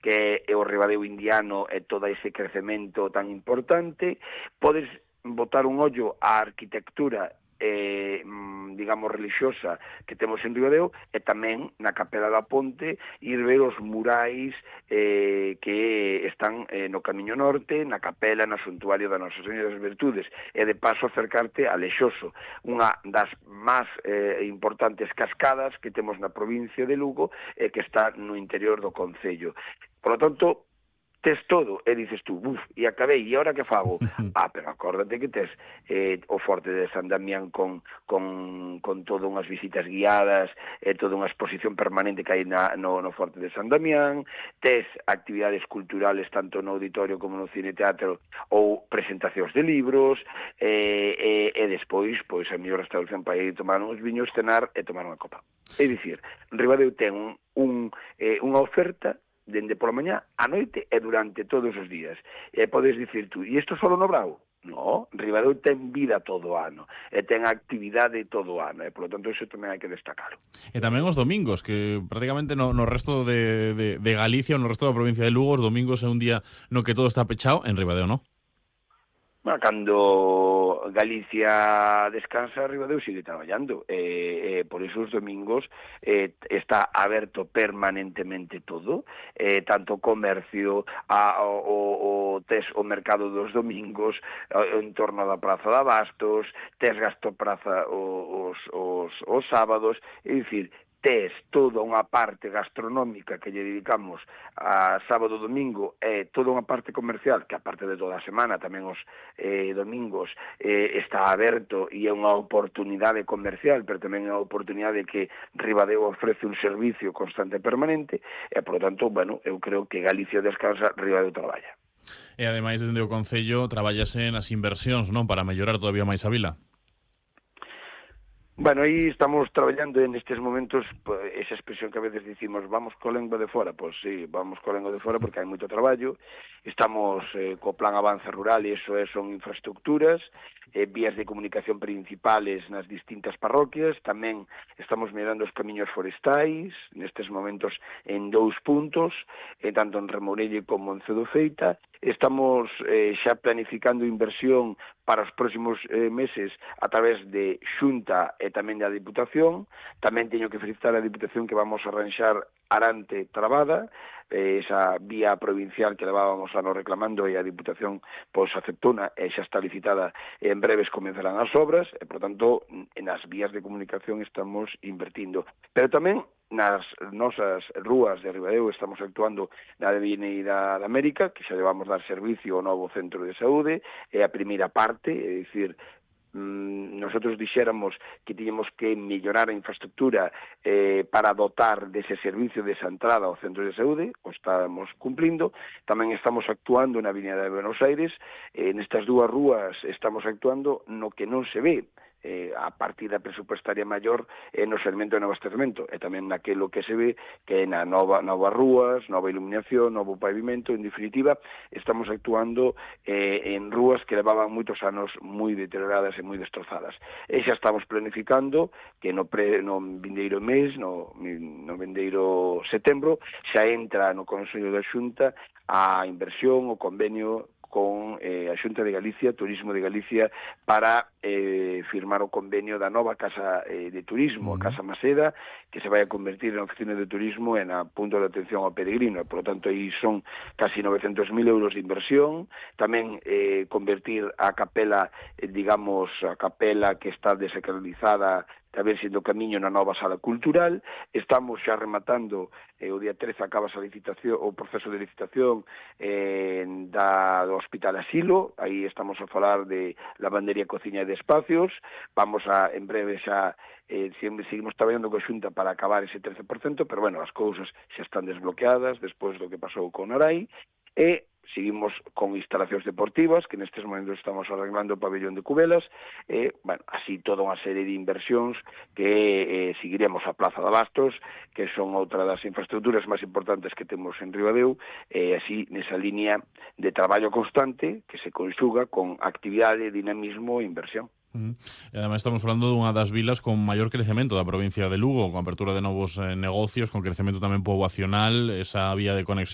que é o Ribadeo indiano e todo ese crecemento tan importante. Podes botar un ollo á arquitectura digamos religiosa que temos en Ribadeo, e tamén na Capela da Ponte ir ver os murais que están no Camiño Norte, na Capela, no Santuario da Nosa Señora das Virtudes, e de paso acercarte a Lexoso, unha das máis importantes cascadas que temos na provincia de Lugo e que está no interior do concello. Por lo tanto, tes todo, e dices tú, e acabei, e agora que fago? Pero acórdate que tes o Forte de San Damián con todas unhas visitas guiadas, toda unha exposición permanente que hai no Forte de San Damián, tes actividades culturales tanto no auditorio como no cine teatro ou presentacións de libros, e despois, pois, a mellor restauración para ir tomar uns viños, cenar e tomar unha copa. É dicir, Ribadeo ten unha oferta dende pola mañá, a noite e durante todos os días. E podes dicir tú, e isto só no Brao? No, Ribadeo ten vida todo o ano, e ten actividade todo o ano, e polo tanto iso tamén hai que destacarlo. E tamén os domingos, que prácticamente no resto de Galicia, no resto da provincia de Lugo, os domingos é un día no que todo está pechado, en Ribadeo, non? Bueno, cando Galicia descansa, Ribadeo sigue traballando, por iso os domingos está aberto permanentemente todo, tanto comercio, tes o mercado dos domingos, en torno da Praza de Abastos, tes Gastopraza os sábados, é dicir, tes toda unha parte gastronómica que lle dedicamos a sábado e domingo, e toda unha parte comercial que a parte de toda a semana, tamén os domingos está aberto, e é unha oportunidade comercial, pero tamén é unha oportunidade que Ribadeo ofrece un servicio constante e permanente, e, por lo tanto, bueno, eu creo que Galicia descansa, Ribadeo traballa. E, ademais, dende o Concello, traballase nas inversións, non? Para mellorar todavía máis a vila. Bueno, aí estamos traballando en estes momentos, esa expresión que a veces dicimos, vamos co lengua de fora, pois sí, vamos co lengua de fora porque hai moito traballo, estamos co plan Avance Rural, e iso son infraestructuras, vías de comunicación principales nas distintas parroquias, tamén estamos mirando os camiños forestais, nestes momentos en 2 puntos, tanto en Remorelle como en Cedofeita. Estamos xa planificando inversión para os próximos meses a través de Xunta e tamén da Diputación. Tamén teño que felicitar a Diputación que vamos a arranxar Arante Trabada, esa vía provincial que levábamos anos reclamando, e a Diputación pois aceptona e xa está licitada, e en breves comenzarán as obras, e, por tanto, nas vías de comunicación estamos invertindo. Pero tamén nas nosas rúas de Ribadeo estamos actuando na Avenida da América, que xa levamos dar servicio ao novo centro de saúde, é a primeira parte, é dicir, nosotros dixéramos que tiñamos que mellorar a infraestructura para dotar dese servicio desa entrada ao centro de saúde, o estamos cumplindo. Tamén estamos actuando na Avenida de Buenos Aires, nestas 2 rúas estamos actuando no que non se ve, a partida presupuestaria maior no segmento de abastecemento, e tamén naquelo que se ve que é na novas rúas, nova iluminación, novo pavimento. En definitiva, estamos actuando en rúas que levaban moitos anos moi deterioradas e moi destrozadas. E xa estamos planificando que no vindeiro mes, no vindeiro setembro, xa entra no Consello da Xunta a inversión, o convenio con a Xunta de Galicia, Turismo de Galicia, para firmar o convenio da nova Casa de Turismo, a Casa Maseda, que se vai a convertir en oficina de turismo e na punto de atención ao peregrino. Por lo tanto, aí son casi 900.000 euros de inversión. Tamén convertir a capela, digamos, a capela que está desacralizada, a ver se do camiño na nova sala cultural. Estamos xa rematando, o día 13 acaba a licitación, o proceso de licitación do Hospital Asilo. Aí estamos a falar de lavandería, cociña e de espacios. Vamos a, en breve xa, seguimos traballando con Xunta para acabar ese 13%, pero bueno, as cousas xa están desbloqueadas despois do que pasou con Arai, e seguimos con instalacións deportivas, que nestes momentos estamos arreglando o pabellón de Cubelas, bueno, así toda unha serie de inversións que seguiremos a Plaza de Abastos, que son outra das infraestructuras máis importantes que temos en Ribadeo, así nesa línea de traballo constante que se conxuga con actividade, dinamismo e inversión. E ademais estamos falando dunha das vilas con maior crecemento da provincia de Lugo, con apertura de novos negocios, con crecemento tamén poboacional, esa vía de conexión